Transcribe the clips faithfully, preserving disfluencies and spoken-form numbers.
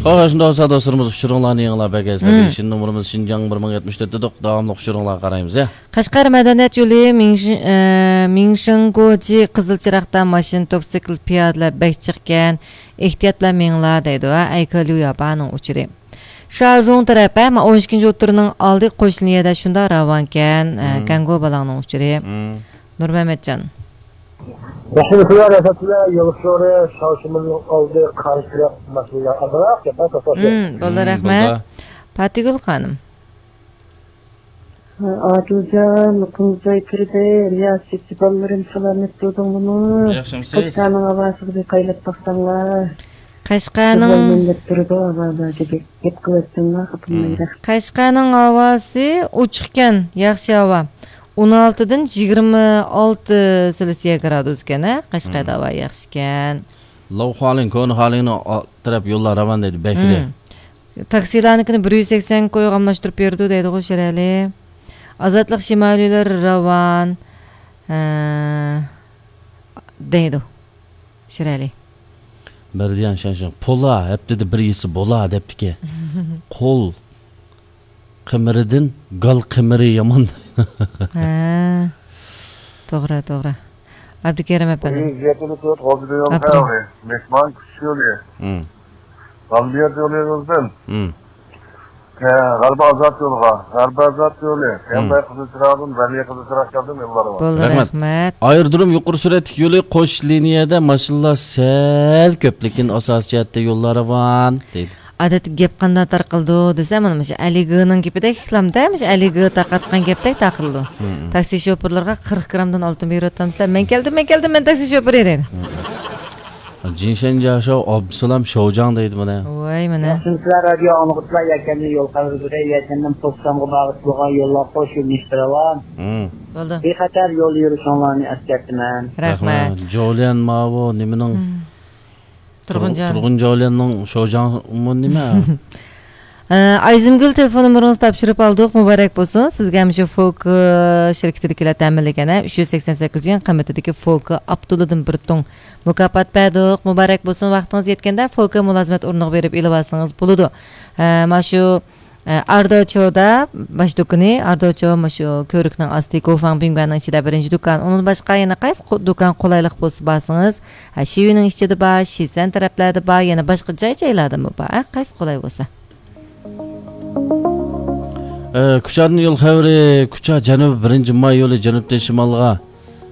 ھاي، شۇنداق بولسا، دوستلىرىمىز، ئۇچۇرۇڭلارنى يېڭىلاپ بەرگەيسىلەر. مم. شىن نومۇرىمىز شىنجاڭ بىر مىڭ يەتمىش تۆت دېدۇق. داۋاملىق ئۇچۇرۇڭلارغا قارايمىز، يا. قەشقەر مەدەنىيەت يولى مىڭشىن-، ئە، مىڭشىڭگوجى قىزىل چىراغدا ماشىنا، توكسىكل، پىيادىلەر بەك جىقكەن. ئېھتىيات بىلەن مېڭىڭلار دەيدۇ، ھە، ئەيكېليۇ ياپانىڭ ئۇچۇرى. شاژۇڭ تەرەپ، ھە، مانا ئون ئىككىنچى ئوتتۇرىنىڭ ئالدى قوش لىنىيەدە شۇنداق راۋانكەن، ھە، مم. گەنگو بالاڭنىڭ ئۇچۇرى. مم. نۇرمەمەتجان. ياخشىمۇسىلەر، رەھمەتلەر، يول ئۇچۇرى، شاۋشىمىننىڭ ئالدى قارشى تەرەپ ماشىنىلار ئازراق گەپ توختاش. مم، بولدى، مم، رەھمەت. بولدى. پاتىگۈل خانىم. ئادىلجان، قۇمجاي كىردى، رىياسەتچى بالىلىرىم سالامەت تۇردۇڭلىمۇ؟ ياخشىمۇسىز؟ قەشقەرنىڭ ھاۋاسىغا بىر قايلاپ باقساڭلار. قەشقەرنىڭ قىزلار مەڭگەپ تۇرىدۇ ھاۋادا دېدى. گەپ قىلىۋەتسەڭلار، خاپىمايلى. مم. قەشقەرنىڭ ھاۋاسى ئوچۇقكەن، ياخشى ھاۋا. ئون ئالتىدىن يىگىرمە ئالتە سېلسىيە گرادۇسكەن، ھە؟ قەشقەردە مم. ھاۋا ياخشىكەن. لاۋ خۇالىڭ، كونا خۇالىڭنىڭ ئال-، تەرەپ يوللار راۋان دەيدۇ، بەكرى. مم. تاكسىلارنىڭكىنى بىر يۈز سەكسەن كويغا ئالماشتۇرۇپ بېرىدۇ دەيدىغۇ شىرئەلى. ئازادلىق شىمالىيلار راۋان، ھە، دەيدۇ شىرئەلى. بەردىيان شەنشىڭ، پولا، ھەپتىدە بىر يېسە بولا، دەپتىكەن. قول قىمىرىدىن گال قىمىرى يامان. ھە. توغرا، توغرا. ئابدۇكېرىم ئەپەندىم. بۇ يەتتە تۆت غالبىيە يولى ئابدۇرېھىم. مېھمان كۈتۈش يولى. مم. غالبىيە يولى يولىدىن. مم. ھە، غەربىي ئازاد يولىغا، غەربىي ئازاد يولى. مم. يانداي قىزىل چىراغدىن، غەربىي قىزىل چىراغ كەلدىم يوللارغا. بولدى، رەھمەت. رەھمەت. ئايرودروم يۇقىرى سۈرئەتلىك يولى قوش لىنىيەدە ماشىنىلار سەل كۆپ، لېكىن ئاساسىي جەھەتتە يوللار راۋان، دەيدۇ. ئادەتتە گەپ قانداق تارقىلىدۇ دېسە، مانا مۇشۇ ئەلىگىنىڭ گېپىدەك ئىكلامدا، مۇشۇ ئەلىگى تارقاتقان گەپتەك تارقىلىدۇ. مم. تاكسى شوپۇرلىرىغا قىرىق گرامدىن ئالتۇن بېرىۋاتامسىلەر؟ مەن كەلدىم، مەن كەلدىم، مەن تاكسى شوپۇرى دەيدۇ. مم. جىنشەن جاشاۋ ئابدۇسالام شوجاڭ دەيدۇ مانا. ۋاي مانا. ياخشىمۇسىلەر رادىيو ئاڭلىغۇچىلار؟ يەكەندىن يول قەرز بېرەي، يەكەندىن پوكسانغا باغلىق بولغان يوللار قوش يۆنىلىشتە راۋان. مم. بولدى. بىخەتەر يول يۈرۈشۈڭلارنى ئەسكەرتىمەن. رەھمەت. رەھمەت. جوليەن ماۋۇ نېمىنىڭ؟ مم. تۇرغۇنجان. تۇرغۇنجولىنىڭ شوجاڭمۇ نېمە؟ ئە، ئايزىمگۈل، تېلېفون نومۇرىڭىزنى تاپشۇرۇپ ئالدۇق. مۇبارەك بولسۇن. سىزگە مۇشۇ فوكا شىركىتىدىكىلەر تەمىنلىگەن، ئە، ئۈچ يۈز سەكسەن سەككىز يۈەن قىممىتىدىكى فوكا ئاپتولىدىن بىر تۇڭ مۇكاپات بەردۇق. مۇبارەك بولسۇن. ۋاقتىڭىز يەتكەندە فوكا مۇلازىمەت ئورنىغا بېرىپ ئېلىۋالسىڭىز بولىدۇ. ئە، مانا شۇ ئە، ئاردوچودا باش دۇكىنى، ئاردوچو مۇشۇ كۆۋرۈكنىڭ ئاستى، گوفاڭ بىڭگۈەننىڭ ئىچىدە بىرىنچى دۇكان. ئۇنىڭدىن باشقا يەنە قايسى قو-، دۇكان قولايلىق بولسا بارسىڭىز، ھە، شىۋىنىڭ ئىچىدە بار، شىسەن تەرەپلەردە بار، يەنە باشقا جاي-جايلاردىمۇ بار، ھە، قايسى قولاي بولسا. ئە، كۇچادىن يول خەۋىرى، كۇچا جەنۇبىي بىرىنچى ماي يولى جەنۇبتىن شىمالغا،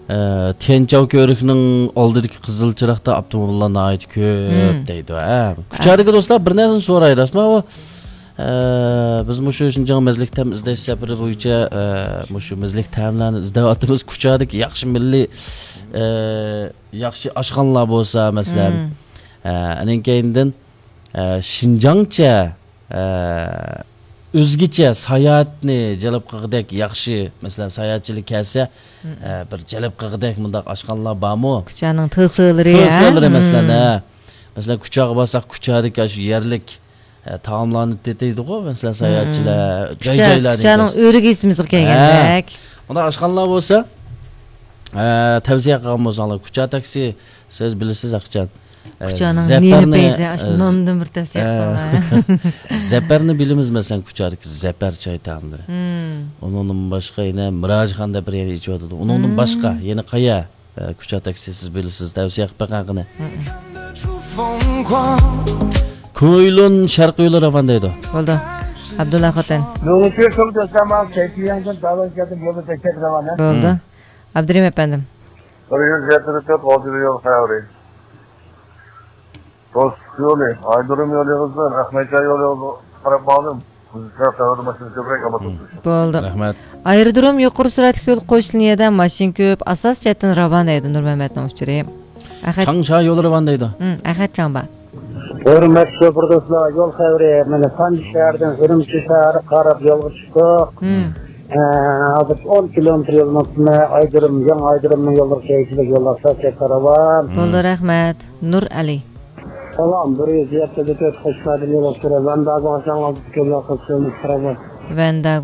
ئە، تيەنچاۋ كۆۋرۈكنىڭ ئالدىدىكى قىزىل چىراغدا ئاپتوموبىللار ناھايىتى كۆپ مم. دەيدۇ، ھە. كۇچادىكى دوستلار، بىر نەرسىنى سوراي، راستمۇ ئۇ؟ ئە، بىز مۇشۇ شىنجاڭ مەزلىك تەم ئىزدەش سەپىرى بويىچە، ئە، مۇشۇ مەزلىك تەملەرنى ئىزدەۋاتىمىز. كۇچادىكى ياخشى مىللىي، ئە، ياخشى ئاشخانىلار بولسا، مەسىلەن، مم. ئە، ئانىڭ كەينىدىن، ئە، شىنجاڭچە، ئە، ئۆزگىچە ساياھەتنى جەلپ قىلغۇدەك ياخشى، مەسىلەن، ساياھەتچىلەر كەلسە، مم. ئە، بىر جەلپ قىلغۇدەك مۇنداق ئاشخانىلار بارمۇ؟ كۇچانىڭ تىلسىلىرى، ھە؟ تىلسىلىرى، مەسىلەن، مم. ھە. مەسىلەن، كۇچاغا بارساق، كۇچادىكى ئاشۇ يەرلىك ئە، تائاملارنى تېتىيدىغۇ، مەسىلەن، ساياھەتچىلەر، مم. جاي-، كۇچا، جايلاردىن كۇچانىڭ كەلسە. ئۆرىگە يېسىمىزغا ھە. كەلگەندەك. مۇنداق ئاشخانىلار بولسا، ئە، تەۋسىيە قىلغان بولساڭلار، كۇچا تاكسى، سىز بىلىسىز، ئاخشام. ئە، كۇچانىڭ زەپەرنى، نېنى پەيزى، ئاشۇ ئە، ناندىن بىر تەۋسىيە ئە، قىلساڭلار. زەپەرنى بىلىمىز، مەسىلەن، كۇچادىكى زەپەر چاي تائاملىرى. مم. ئۇنىڭدىن باشقا يەنە مىراجخان دەپ بىر يەر ئېچىۋاتىدۇ. ئۇنىڭدىن مم. باشقا يەنە قايا؟ ئە، كۇچا تاكسى سىز بىلىسىز، تەۋسىيە قىلىپ بېقىڭ قېنى. مم. كۇيلۇن شەرقىي يولى راۋان دەيدۇ. بولدى. ئابدۇللا خوتەن. بولدى. مم. ئابدۇرېھىم ئەپەندىم. بىر يۈز يەتتە تۆت غالجىر يول خەۋىرى. دوستلۇق يولى، ئايرودروم يولى يېغىزدىن، ئەخمەتجان يولى يېغىزىغا قاراپ ماڭدىم. بىز شەرق تەۋرىدە ماشىنا كۆپرەك ئالما توپلىشىپ. بولدى. رەھمەت. ئايرودروم يۇقىرى سۈرئەتلىك يول قوش لىنىيەدە ماشىنا كۆپ، ئاساسىي جەھەتتىن راۋان دەيدۇ نۇرمەمەتنىڭ ئۇچۇرى. ئەخەت. چاڭشا يولى راۋان دەيدۇ. ھىم، ئەخەت چاڭبا. ھۆرمەتلىك شوپۇر دوستلار، يول خەۋىرى، مانا سانجى شەھىرىدىن ئۈرۈمچى شەھەرگە قاراپ يولغا چىقتۇق. ھىم. ئە، ھازىر ئون كىلومېتىر يولنىڭ ئۈستىدە ئايرودروم، يېڭى ئايرودرومنىڭ يوللىرى كەيشىلىك يوللار ساچەككە راۋان. بولدى، رەھمەت. نۇر ئەلى. سالام، بىر يۈز يەتتە تۆت قەشقەردىن يولۇق سۈرە ۋەنداگو ئاشاڭلاردا كۆللەر قىزىل قىرمىزى. ۋەنداگو.